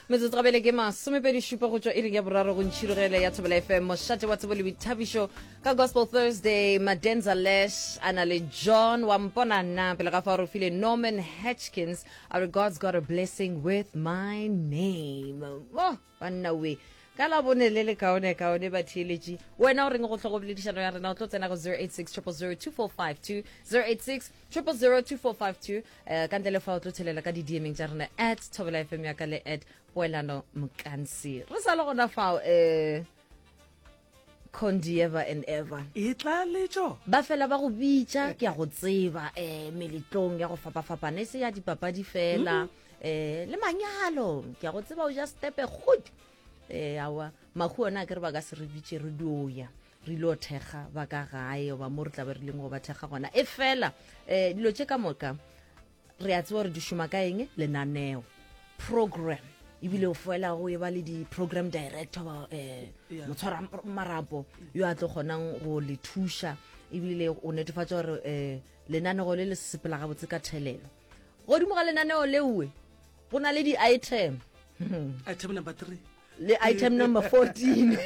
Metsotso gabele ke masomepedi šupa go tšwa iring ya boraro go ntšhirogele ya Thobela FM, mošate wa tsebo le boithabišo ka Gospel Thursday. Madenza Lesh a na le John wa mpona nna pele ga fa re file Norman Hatchkins a re God's got a blessing with my name. Oh, banna we ka la bone le le kaone kaone batheeletši. Wena o reng go hlogo boledišano ya rena? O tlo tsena go 086 000 2452, 086 000 2452. Eh, ka ntle le fa o tlo thelela ka di-dmeng tša rena at Thobela FM ya ka le at Poelano Mkansi. Re sa le gona fao, eh, Condi ever and ever. E tla letšo. Ba fela ba go bitša, ke a go tseba, eh, meletlong ya go fapafapana, e se ya dipapadi fela, mm -hmm. eh, le manyalo, ke a go tseba o ja stepe good. Eh, awa, mahu ona a ke re ba ka se re bitše re dio ya. Re ile thekga ba ka gae goba mo re tla be re leng go ba thekga gona. E fela, eh, dilo tše ka moka re a tseba gore di šoma ka eng, lenaneo, program, ebile o fela go e ba le di-program director ba, eh, motshwara marapo yo a tlo kgonang go le thuša, ebile o netefatša gore, eh, lenanego le le sepela gabotse ka thelelo. Godimo ga lenaneo leowe go na le di-item. Item number 3 le item number 14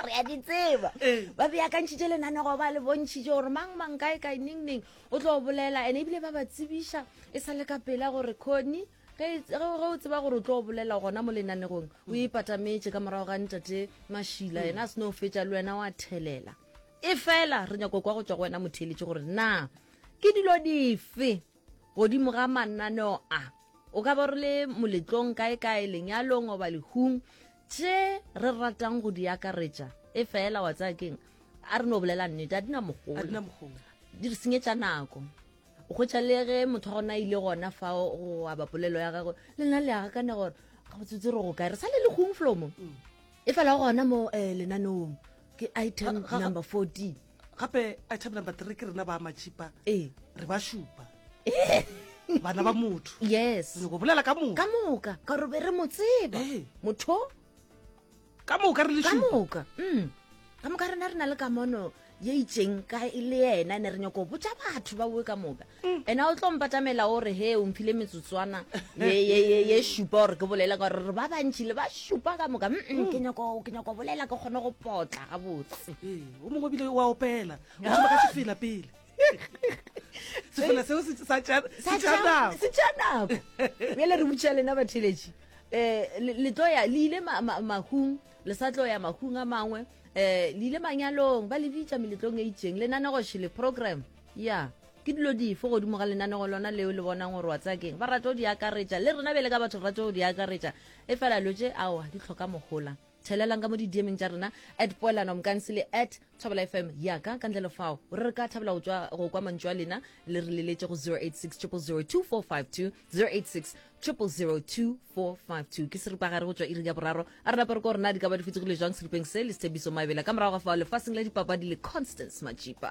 re a di tseba. Ba beakantšhitše lenanego, ba le bontšhitše gore mang mang kae kae neng neng o tlo bolela, ene ebile ba ba tsebiša e sa le ka pela gore Connie, ge ge o tseba gore o tlo bolela gona mo lenanegong, o ipatametše ka morago ga ntate Mašila, yena a se no fetša le wena wa thelela. E fela re nyako kwa go tšwa go wena motheeletše gore na ke dilo dife godimo ga mananeo a o ka ba re le moletlong kae kae, lenyalong goba lehung, tše re ratang go di akaretša. E fela wa tsaya keng, a re no bolela nnete, a di na mogola, di re senyetša nako. O hwetša le ge motho wa gona a ile gona fao go aba polelo ya gagwe, le nna le agakane gore gabotsotse re go kae, re sa le lehung flomo. E fela gona mo, eh, lenaneong ke item number 14. Gape item number 3 ke rena ba matšipa, re ba šupa bana ba motho. Yes, re nyako bolela ka moka, ka moka, ka gore be re mo tseba motho ka moka, re le ka moka. Ka moka rena re na le kamono ye itseng ka e le yena, ne re nyako botša batho ba boe ka moka. Ena o tlo mpatamela o re he o mphile metsotswana ye šupa gore ke bolela, ka gore re ba bantši le ba šupa ka moka. Ke nyako, ke nyako bolela ke kgone go potla gabotse. Ee, o mongwe bile wa opela, o thoma ka sefela pele, sefela seo sa tšea nako, se tšea nako. Bjale re botša lena batheletši, um le tlo ya le ile mahung, le sa tlo ya mahung a mangwe, um le ile manyalong, ba le bitša meletlong e itseng, lenanego šele program ya ke dilo dife godimo ga lenanego lona leo le bonang gore wa tsaya keng ba rata go di akaretša. Le rena bjale ka batho re rata go di akaretša, e fela lo tše aowa di tlhoka mogola. Thelelang ka mo di-dmeng tša rena at Poelano Mkansi le at Thobela FM yaka. Ka ntle le fao re re ka thabela go tšwa go kwa mantšu a lena, le re leletše go 086 000 2452, 086 000 2452. Ke seripagare go tšwa iring ya boraro. A re nape re ko rena di ka ba di fetogile jwang seripeng se le Setshepiso Maebela, ka morago ga fao lefaseng la dipapadi le Constance Majipa.